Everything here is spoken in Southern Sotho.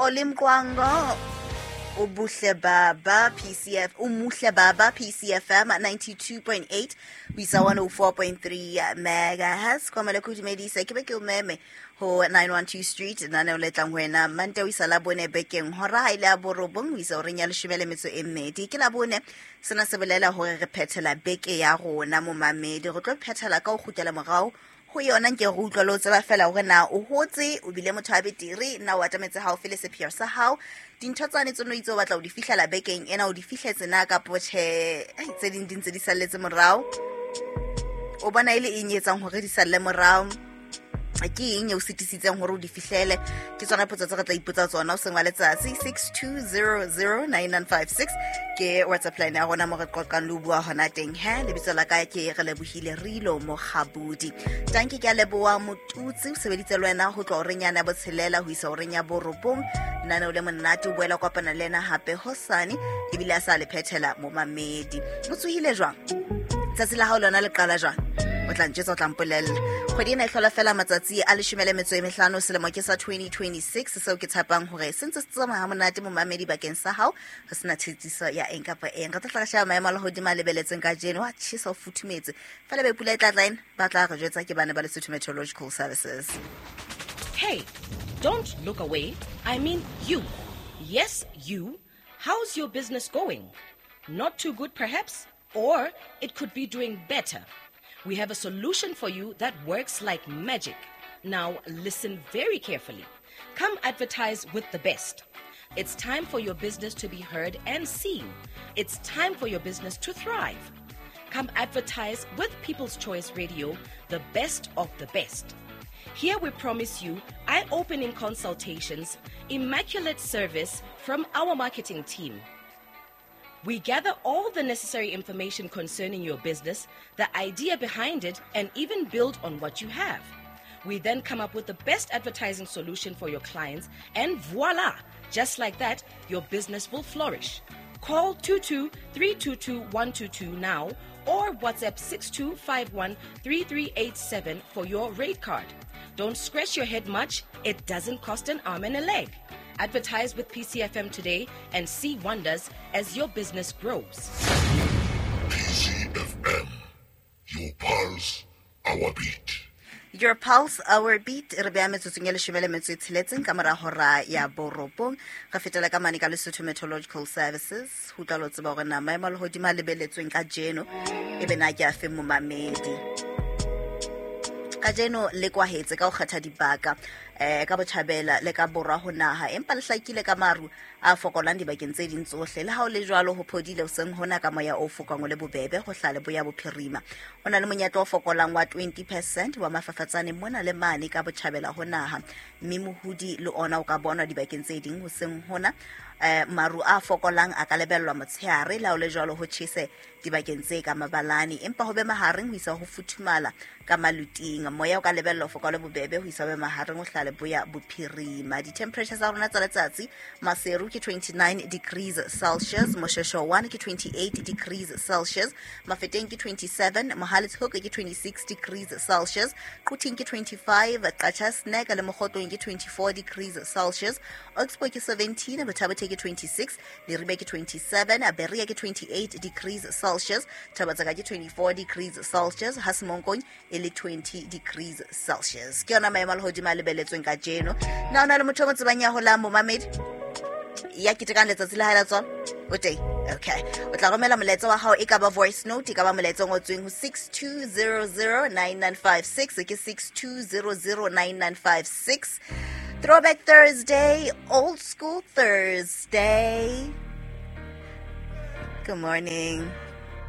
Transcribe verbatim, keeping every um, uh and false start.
Xoli Mqwango, Ubuhle Baba P C F, Umuhle Baba P C F M ninety-two point eight, ho isa one oh four point three megahertz. Kwa mele kudumedisa ke be ke o meme ho nine one two Street lenaneo le tlang ho wena Mante ho isa Labone bekeng hora ha ile ya borobong ho isa horeng ya leshome le metso e mmedi. Ke Labone, sena se bolela hore re phethela beke ya rona momamedi. Re tlo phethela ka ho kgutlela morao ho yona nke re utlwa le ho tseba fela hore na o hotse, o bile motho a betere, na o atametse haufi le sepheo sa hao. Dintho tsane tse no itse o batla ho di fihlela bekeng ena, o di fihletse na kapo tjhe, ai, tse ding di ntse di salletse morao. O bona e le eng e etsang hore di salle morao? Ke eng e o sitisitseng hore o di fihlele? Ke tsona potso tse re tla ipotsa tsona hoseng wa letsatsi. Six two zero zero nine nine five six ke WhatsApp line ya rona mo re qoqang le ho bua hona teng. He, lebitso la ka ke Relebohile Rilo Mokgabudi. Tanki ke a leboha Motutsi, o sebeditse le wena ho tloha horeng yana ya botshelela ho isa horeng ya borobong. Lenaneo le monate, o boela kopana le yena hape hosane, ebile a sa le phethela momamedi. O tsohile jwang? Tsatsi la hao lona le qala jwang? O tla ntjwetsa, o tla mpolella. Kgwedi ena e hlola fela matsatsi a leshome le metso e mehlano, selemo ke sa twenty twenty-six, seo ke tshepang hore se ntse se tsamaya ha monate momamedi bakeng sa hao, ho sena tshitiso ya eng kapa eng. Re tla tla re sheba maemo a lehodimo a lebeletseng kajeno. Wa tjhesa, o futhumetse. Fela be pula e tla tla ena, ba tla re jwetsa ke bana ba Lesotho Meteorological Services. Hey, don't look away. I mean you. Yes, you. How's your business going? Not too good perhaps? Or it could be doing better. We have a solution for you that works like magic. Now listen very carefully. Come advertise with the best. It's time for your business to be heard and seen. It's time for your business to thrive. Come advertise with People's Choice Radio, the best of the best. Here we promise you eye-opening consultations, immaculate service from our marketing team. We gather all the necessary information concerning your business, the idea behind it, and even build on what you have. We then come up with the best advertising solution for your clients, and voila! Just like that, your business will flourish. Call two two three two two one two two now or WhatsApp six two five one three three eight seven for your rate card. Don't scratch your head much. It doesn't cost an arm and a leg. Advertise with P C F M today and see wonders as your business grows. P C F M, your pulse, our beat. Your pulse, our beat. Re beha metsotsong e leshome le metso e tsheletseng ka mora hora ya borobong. Re fetela ka mane ka Lesotho Meteorological Services. Ho utlwa le ho tseba hore na maemo a lehodimo a lebeletsweng kajeno e be na ke a fe momamedi. Kajeno le kwahetse ka ho kgetha dibaka, eh, ka botjhabela le ka borwa ho naha, empa le hlakile ka maru a fokolang dibakeng tse ding tsohle. Le ha ho le jwalo, ho phodile hoseng hona ka moya o fokang o le bobebe ho hlaha leboya bophirima. Ho na le monyetla o fokolang wa twenty percent wa mafafatsane mona le mane ka botjhabela ho naha, mme mohodi le ona o ka bonwa dibakeng tse ding hoseng hona. Eh, maru a fokolang a ka lebellwa motshehare, le ha ho le jwalo ho tjhese dibakeng tse ka mabalane, empa ho be mahareng ho isa ho futhumala ka maluting. Moya o ka lebellwa ho fokola bobebe ho isa ho be mahareng ho hlaha leboya bophirima. Di-temperature tsa rona tsa letsatsi, Maseru ke twenty-nine degrees Celsius, Moshweshwe one ke twenty-eight degrees Celsius, Mafeteng ke twenty-seven, Mohale's Hoek ke twenty-six degrees Celsius, Quthing ke twenty-five, Qacha's Nek le Mokhotlong ke twenty-four degrees Celsius, Oxbow ke seventeen, Botha-Bothe ke twenty-six, Leribe ke twenty-seven, Berea ke twenty-eight degrees Celsius, Thaba-Tseka ke twenty-four degrees Celsius, Ha Semonkong e le twenty degrees Celsius. Ke yona maemo a lehodimo a lebeletsweng kajeno. Na o na le motho o mo tsebang ya holang momamedi ya ketekang letsatsi la hae la tswalo? O teng? Okay. O tla romela molaetsa wa hao, e ka ba voice note, e ka ba molaetsa o ngotsweng ho six two zero zero nine nine five six, ke six two zero zero nine nine five six. Throwback Thursday, Old School Thursday. Good morning.